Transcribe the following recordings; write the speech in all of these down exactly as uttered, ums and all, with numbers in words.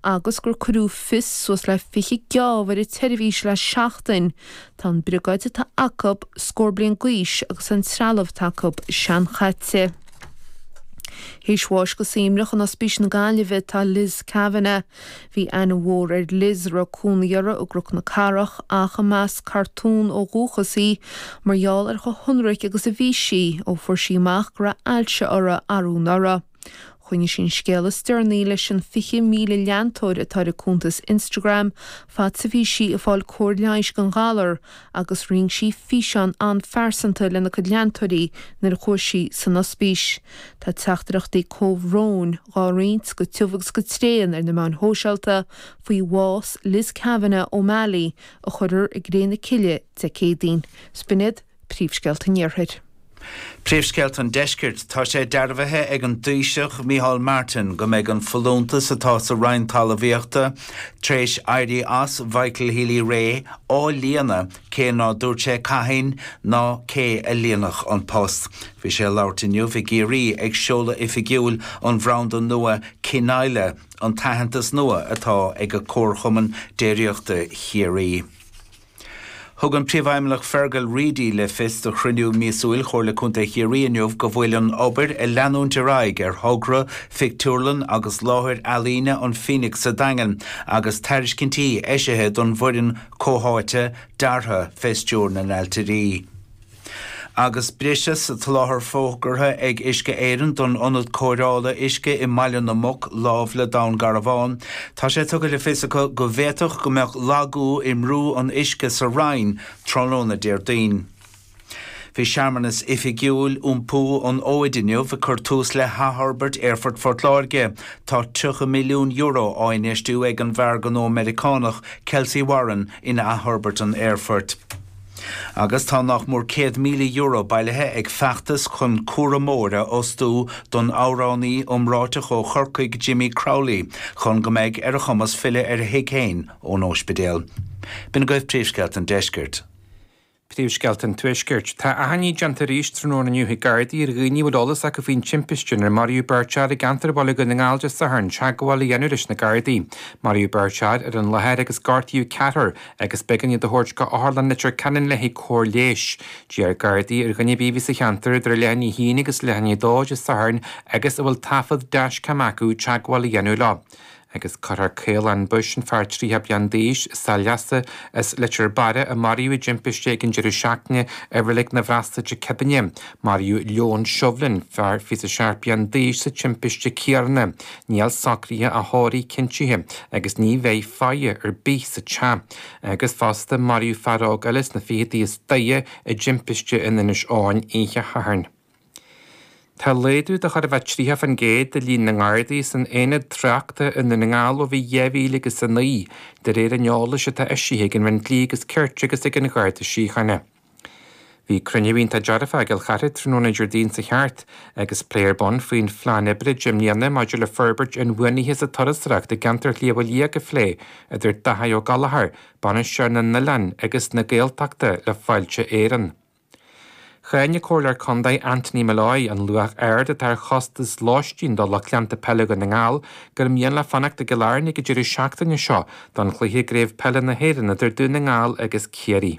agus gur cuireadh fios suas le fiche geábh ar an tseirbhís le seachtain. Tá an briogáid atá acu scór bliain d'aois agus an trealamh atá acu seanchaite. Théis bháis go suaimhneach in Ospís na Gaillimhe atá Liz Kavanagh. Bhí aithne mhór ar Liz a raibh cónaí uirthi i gCnoc na Cathrach ach i measc cartún ó dhúchas í mar gheall ar chomh hionraic agus a bhí sí ó fuair sí amach go raibh ailse uirthi arú anuraidh. Choinnigh sí an scéal is deireanaí leis an fiche míle leantóir atá ar a cuntas Instagram, fad is a bhí sí ag fáil cóir leighis don ghalar agus roinn sí físeán an-phearsanta lena cuid leantóirí nuair a chuaigh sí san ospís. Tá teachtaireachtaí comhbhróin á roinnt go tiubh agus go tréan ar na meáin shóisialta faoi bhás Liz Kavanagh O'Malley a cuireadh i gcré na cille Dé Céadaoin. B'in iad príomhscéalta an Iarthair. Príomhscéalta an Deiscirt tá sé dearbhaithe ag an dTaoiseach Micheál Martin go mbeidh an folúntas atá sa Roinn Talmhaíochta tar éis éirí as Michael Healy-Rae á líonadh cé ná dúirt sé cathain ná cé a líonfadh an post. Bhí sé ag labhairt inniu i gCiarraí ag seoladh oifigiúil an bhranda nua Cineile an t-aitheantas nua atá ag a Comharchumann Déiríochta Chiarraí. Thug an Príomhfheidhmeannach Fergal Reidy le fios do chruinniú míosúil Chomhairle Contae Chiarraí inniu go bhfuil an obair ag leanúint ar aghaidh ar thogra, phictiúrlann agus láthair ealaíne an Phoenix sa Daingean agus tairiscintí eisithe don bhfoireann comhtháite deartha fé stiúir na n-ailtirí. Agus briseadh sa tsoláthar fógartha ag Uisce Éireann don ionad cóireála uisce i mBaile na Muc láimh le Dún Garbhán. Tá sé tugtha le fios acu go bhféadfadh go mbeadh lagú i mbrú an uisce sa Rinn tráthnóna Déardaoin. Bhí searmanas oifigiúil iompú an fhóid inniu ag cur tús le hathfhorbairt Aerfort Phort Láirge. Tá tríocha milliún euro á infheistiú ag an bhfear gnó Meiriceánach Kelcy Warren in athfhorbairt an aerfoirt. Agus tá nach mór céad míle euro bailithe ag feachtas chun cúramóir a fhostú don amhránaí iomráiteach ó Chorcaigh Jimmy Crowley chun go mbeidh ar a chumas filleadh ar a thigh féin ón ospidéal. B'in agaibh príomhscéalta an Deiscirt. Príomhscéalta an Tuaiscirt. Tá achainí déanta arís tráthnóna inniu ag Gardaí ar dhaoine a bhfuil eolas acu faoin timpiste inar maraíodh beirt fhear i gceantar Bhaile Dhún na nGall Dé Sathairn teagmháil a dhéanamh leis na Gardaí. Maraíodh beirt fhear ar an láthair agus gortaíodh ceathrar agus b'éigean iad a thabhairt go Otharlann Leitir Ceanainn le haghaidh cóir leighis. D'iarr Gardaí ar dhuine ar bith a bhí sa cheantar idir leath i ndiaidh a haon agus leath i ndiaidh a dó Dé Sathairn agus a bhfuil taifead dashcam acu teagmháil a dhéanamh leo. Agus cuirfear Caolán Bush an fear tríocha bliain d'aois Saileasa as Leitir Beara a maraíodh i dtimpiste ag an deireadh seachtaine i Reilig na bhFreastal Dé Céadaoine. Maraíodh Leon Shovlin, fear fiche seacht bliain d'aois sa timpiste céanna. Níl socruithe a thórraimh cinntithe agus ní bheidh faire ar bith sa teach. Agus fosta maraíodh fear óg eile sna fichidí is daichead i dtimpiste in Inis Eoghain oíche Shathairn. Tá laghdú de chóir a bheith tríocha faoin gcéad de líon na nGardaí san aonad tráchta i nDún na nGall ó bhí dhá mhíle agus a naoi, de réir an eolais atá eisithe ag an Roinn Dlí agus Cirt agus ag an Gharda Síochána. Bhí cruinniú iontach dearfach i gCill Chartha tráthnóna Déardaoin seo thart agus plé ar bun faoin phlean oibre deich mbliana maidir le forbairt inbhuanaithe sa turasóireacht i gceantar Shliabh Liag a phlé idir Daithí Ó Gallchóir, bainisteoir na n-oileán agus na Gaeltachta le Fáilte Éireann. Cháin an Comhairleoir Contae Anthony Molloy an luach ard atá ar chostas lóistín do lucht leanta peile Dhún na nGall gur mian leo fanacht i gCill Airne ag an deireadh seachtaine seo don chluiche i gCraobh Peile na hÉireann idir Dún na nGall agus Ciarraí.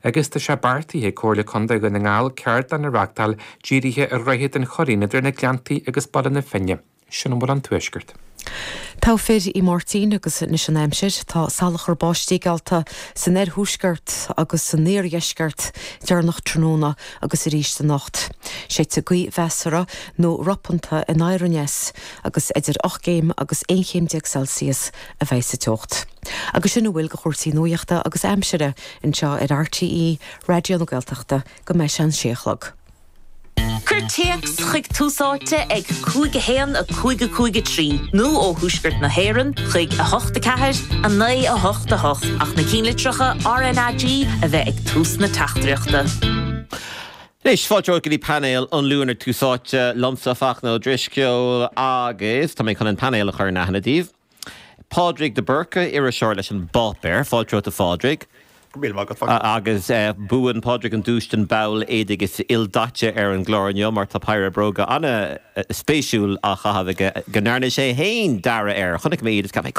Agus tá sé beartaithe ag Comhairle Contae Dhún na nGall ceardlann a reáchtáil dírithe ar Dhroichead an Churraoin idir na Gleanntaí agus Baile na Finne. Sin a bhfuil ón Tuaisceart. Togha fir í Máirtín agus anois an aimsir. Tá salachar báistí geallta san oirthuaisceart agus san iardheisceart deireanach tráthnóna agus arís anocht. Séidfidh gaoth mheasartha nó ropanta anoir aneas agus idir ocht gcéim agus aon chéim déag Celsius a bheidh sa teocht. Agus sin a bhfuil de chúrsaí nuachta agus aimsire anseo ar RTÉ Raidió na Gaeltachta go mbeidh sé an sé a chlog. Cuir téacs chuig Tús Áite ag cúig a haon a cúig a cúig a trí nó ó Thuaisceart na hÉireann chuig a hocht a ceathair a naoi a hocht a hocht ach na cinnlitreacha RnaG a bheith ag tús na teachtaireachta. Anois fáilte go dtí painéal an Luain ar Tús Áite liomsa Fachtna Ó Drisceoil agus tá mé chun an painéal a chur in aithne daoibh. Pádraig de Búrca iriseoir leis an bPáipéar, fáilte romhat a Phádraig. Agus buann Pádraig an duais den ball éadaigh is ildaite ar an gclár inniu mar tá péire bróga an-spéisiúil á chaitheamh aige go ndearna sé féin dearadh air. Chonaic mé iad is ceap mé